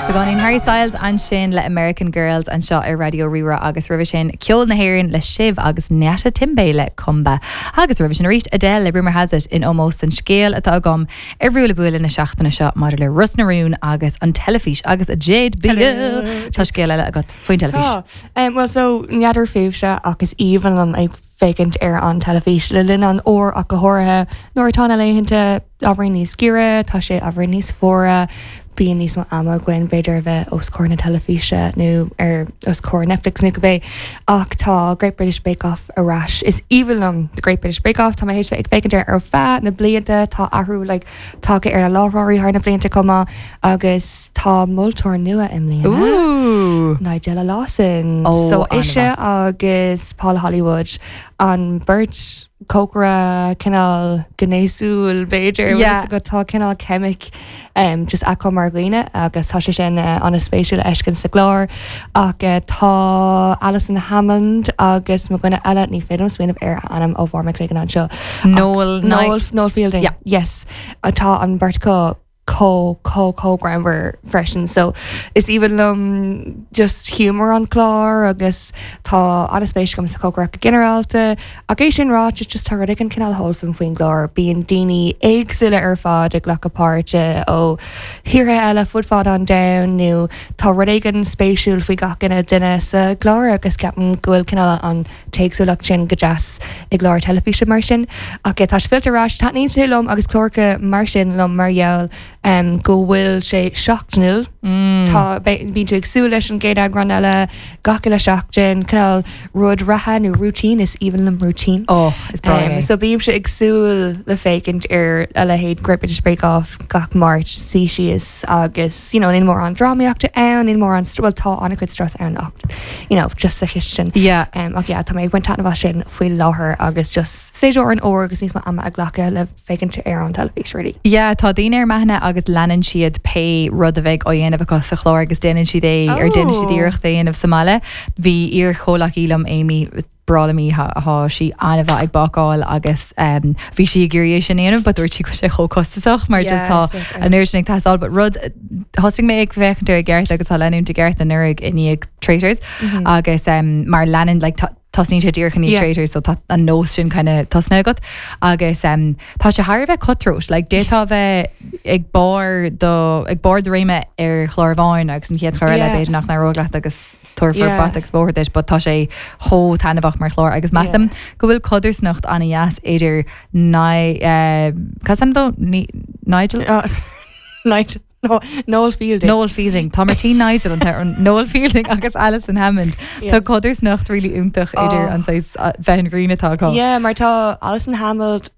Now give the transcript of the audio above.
Beagáinín Harry Styles ansin le American Girls anseo ar Raidió Rí-Rá agus roimhe sin ceol na hÉireann le Sibh agus Nyasha Timbe le Komba. Agus roimhe sin arís Adele le Rumour Has It in ómós don scéal atá agam ar Bhuaile Buaile na seachtaine seo maidir le Ros na Rún agus an teilifís agus Jade Beale. Tá scéal eile agat faoin teilifís. Tá. Bhuel so, n'fheadar fúibhse ach is aoibhinn liom ag féachaint ar an teilifís le linn an fhómhair ach go háirithe nuair atá na laethanta ábhairín níos giorra, tá sé ábhairín níos fuaire, bíonn níos mó ama againn b'fhéidir a bheith os comhair na teilifíse nó ar os comhair Netflix nó cibé. Ach tá Great British Bake Off ar ais. Is aoibhinn liom The Great British Bake Off, tá mé théis bheith ag féachaint air ar feadh na blianta, tá athrú like tagtha ar na láithreoirí thar na blianta chomh maith agus tá moltóir nua i mbliana, Nigella Lawson. So ise agus Paul Hollywood an beirt cócaire cineál gnéasúil b'fhéidir yeah. go tá cineál ceimic um, just acu mar dhaoine agus tá sé sin uh, an-spéisiúil a fheiscint sa gclár ach uh, tá Alison Hammond agus mo dhuine eile ní féidir liom smaoineamh ar a ainm ó bharr mo chloigeann anseo. Noel Noel, Noel Fielding. Yeah. Yes. Tá an bheirt acu chomh chomh chomh greannmhar freisin so is aoibhinn liom just humour an chláir agus tá an-spéis agam sa chócaireacht go ginearálta ach é sin ráite just tá rud éigin cineál wholesome faoin gclár bíonn daoine éagsúla ar fad ag glacadh páirte ó thíortha eile fud fad an domhain nó tá rud éigin spéisiúil faoi gach uile duine sa gclár agus ceapaim go bhfuil cineál an t-éagsúlacht sin go deas i gclár teilifíse mar sin. Ach tá sé fillte ar ais, taitníonn sé liom agus cláracha mar sin liom mar gheall go bhfuil sé seachtainiúil. Tá, bíonn tú ag súil leis an gcéad eagrán eile gach uile seachtain, cineál rud reatha nó routine, is aoibhinn liom routine. Oh, is breá é. So bímse ag súil le féachaint ar a leithéid Great British Bake Off gach Máirt, suí síos agus, you know, níl mórán drámaíochta ann, níl mórán, bhuel tá an-chuid strus ann ach you know, just sa chistin. Yeah. Um, ach yeah, tá mé ag baint taitneamh as sin faoi láthair agus just séasúr an fhómhair agus níos mó ama a ghlacadh le féachaint ar an teilifís really. Yeah, tá daoine ar m'aithne agus leanann siad pé rud a bheidh á dhéanamh acu sa chlár agus déanann siad é ar déanann siad Oh. iarracht é a dhéanamh sa mbaile. Bhí iar-chomhleacaí liom Amy breá liom í, tá sí an-mhaith ag bácáil agus bhí sí ag iarraidh é sin a dhéanamh but dúirt sí go bhfuil sé chomh costasach mar just tá an oiread sin ag teastáil but rud thosaigh mé ag féachaint air i gceart agus á leanúint i gceart anuraidh i ndiaidh Traitors agus mar leanann like tosnaíonn sé díreach i ndiaidh Traitors so tá an nós sin kind of tosnaithe agat agus tá sé thar a bheith cutthroat like d'fhéadfá a bheith ag barr do ag barr do réime ar chlár amháin agus an chéad chlár eile b'fhéidir nach n-éireoidh leat agus tabharfar bata agus bóthar duit but tá sé chomh taitneamhach mar chlár agus measaim go bhfuil codarsnacht an-dheas idir Ni cad is ainm dó? Nigel? Nigel no Noel Fielding. Noel Fielding. Tá Martine Nigel an t-am Noel Fielding agus Alison Hammond. Tá codarsnacht really iontach idir an saghas bheith an ghrian atá acu. Yeah, mar tá Alison Hammond.